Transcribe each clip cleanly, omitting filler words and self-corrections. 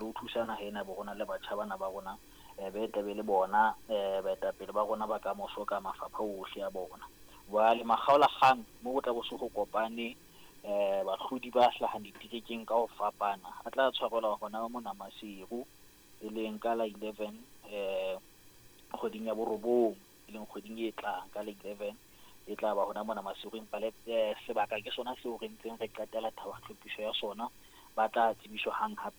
le ho thusa naha ena bo rona le batjha bana ba rona be tlabe le bona baetapele ba rona ba kamoso ka mafapha ohle a bona. Jwale makgaolakgang mo ho tla bo se ho kopane bahlodi ba hlahang diterekeng ka ho fapana a tla tshwarelwa hona mona Maseru, e leng ka la 11 kgweding ya borobong, e leng kgweding e tlang ka la 11 e tla ba hona mona Maseru. Empa le sebaka ke sona seo re ntseng re qetela thaba tlhophiso ya sona. Ba tla tsebiswa hang ha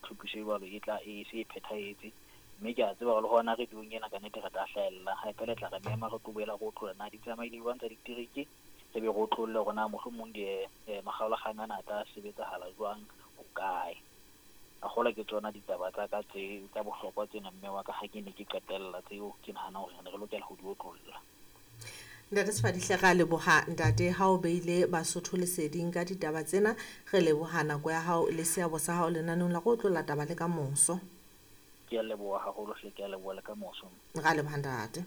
tlhophiso e jwalo e tla e se e phethahetse. Mme ke a tseba hore le hona radiong ena ka nnete re tla hlahella hape le tla re mema re tlo boela re otlolla na di tsamaile jwang tsa ditereke, re be re otlolle hore na mohlomong di makgaolakgang ana a tla sebetsahala jwang hokae. A kgolwa ke tsona ditaba tsa ka tse tsa bohlokwa tsena mme wa ka ha ke ne ke qetella tseo ke nahana hore re ne re lokela ho di otlolla. Ntate Sefadihle, re a leboha ntate ha o beile Basotho leseding ka ditaba tsena. Re leboha nako ya hao le seabo sa hao lenaneong la go otlolla taba le ka moso. Ke a leboha haholo hle, ke a leboha le ka moso. Re a leboha ntate.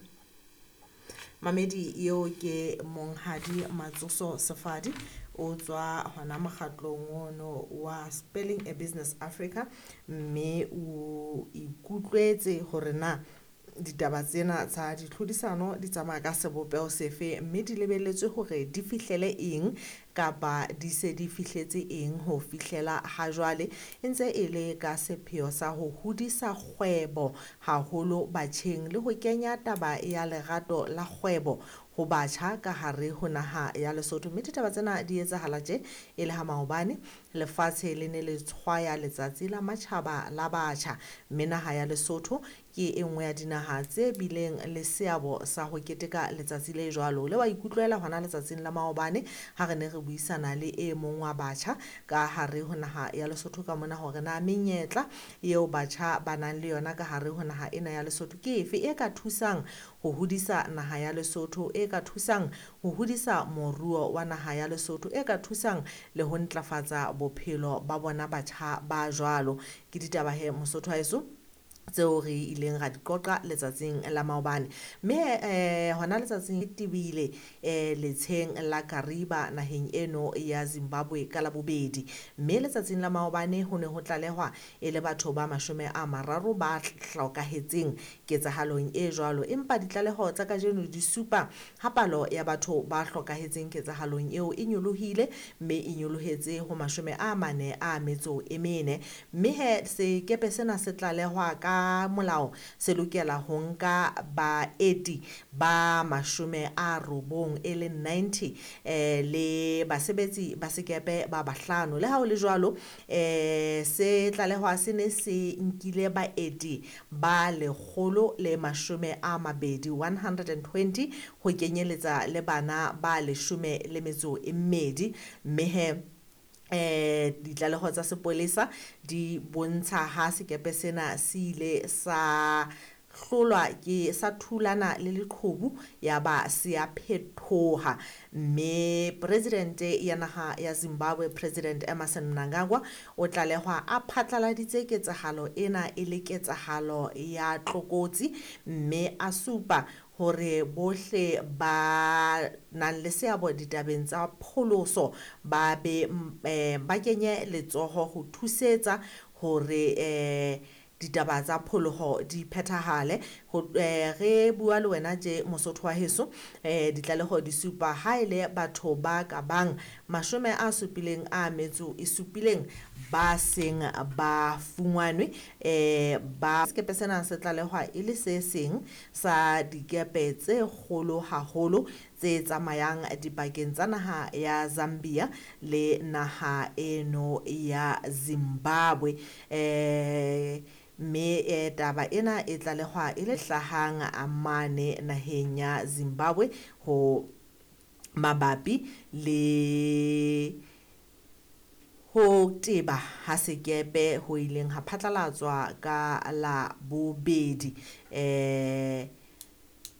Mamedi eo ke Monghadi Matsoso Sefadi, o tswa hona mokgatlong ono wa Spelling a Business Africa, mme o ikutlwetse hore na ditaba tsena tsa ditlhodisano di tsamaya ka sebopeho sefe, mme di lebelletswe hore di fihlele eng kapa di se di fihletse eng ho fihlela ha jwale, e ntse e le ka sepheo sa ho hodisa kgwebo haholo batjheng le ho kenya taba ya lerato la kgwebo ho batjha ka hare ho naha ya Lesotho. Mme ditaba tsena di etsahala tje e le ha maobane lefatshe le ne le tshwaya letsatsi la matjhaba la batjha, mme naha ya Lesotho ke e nngwe ya dinaha tse bileng le seabo sa ho keteka letsatsi le jwalo. Le wa ikutlwela hona letsatsing la maobane ha re ne re buisana le e mong wa batjha ka hare ho naha ya Lesotho ka mona hore na menyetla eo batjha ba nang le yona ka hare ho naha ena ya Lesotho ke efe e ka thusang ho hodisa naha ya Lesotho, e ka thusang ho hodisa moruo wa naha ya Lesotho, e ka thusang le ho ntlafatsa bophelo ba bona batjha ba jwalo. Ke ditaba he Mosotho wa heso tseo re ileng ra di qoqa letsatsing la maobane. Mme hona letsatsing le tebile letsheng la Kariba naheng eno ya Zimbabwe ka Labobedi. Mme letsatsing la maobane ho ne ho tlalehwa e le batho ba 30 ba hlokahetseng ketsahalong e jwalo, empa ditlaleho tsa kajeno di supa ha palo ya batho ba hlokahetseng ketsahalong eo e nyolohile, mme e nyolohetse ho 44. Mme he sekepe sena se tlalehwa ka molao se lokela ho nka baeti ba 90 e leng 90 le basebetsi ba sekepe ba bahlano. Le ha ho le jwalo, se tlalehwa se ne se nkile baeti ba 120, 120 ho kenyeletsa le bana ba 12. Mme he ditlaleho tsa sepolesa di bontsha ha sekepe sena se ile sa hlolwa ke sa thulana le leqhubu ya ba se a phethoha. Mme presidente ya naha ya Zimbabwe, President Emmerson Mnangagwa, o tlalehwa a phatlaladitse ketsahalo ena e le ketsahalo ya tlokotsi, mme a supa hore bohle ba nang le seabo ditabeng tsa pholoso ba be ba kenye letsoho ho thusetsa hore ditaba tsa pholoho di phethahale. Re bua le wena tje Mosotho wa heso, ditlaleho di supa ha ele batho ba ka bang 77 ba seng ba fungwanwe. Ba sekepe sena se tlalehwa e le se seng sa dikepe tse kgolo haholo tse tsamayang dipakeng tsa naha ya Zambia le naha eno ya Zimbabwe. Mme taba ena e tlalehwa e le hlahang mane naheng ya Zimbabwe ho mabapi le ho teba ha sekepe ho ileng ha phatlalatswa ka Labobedi.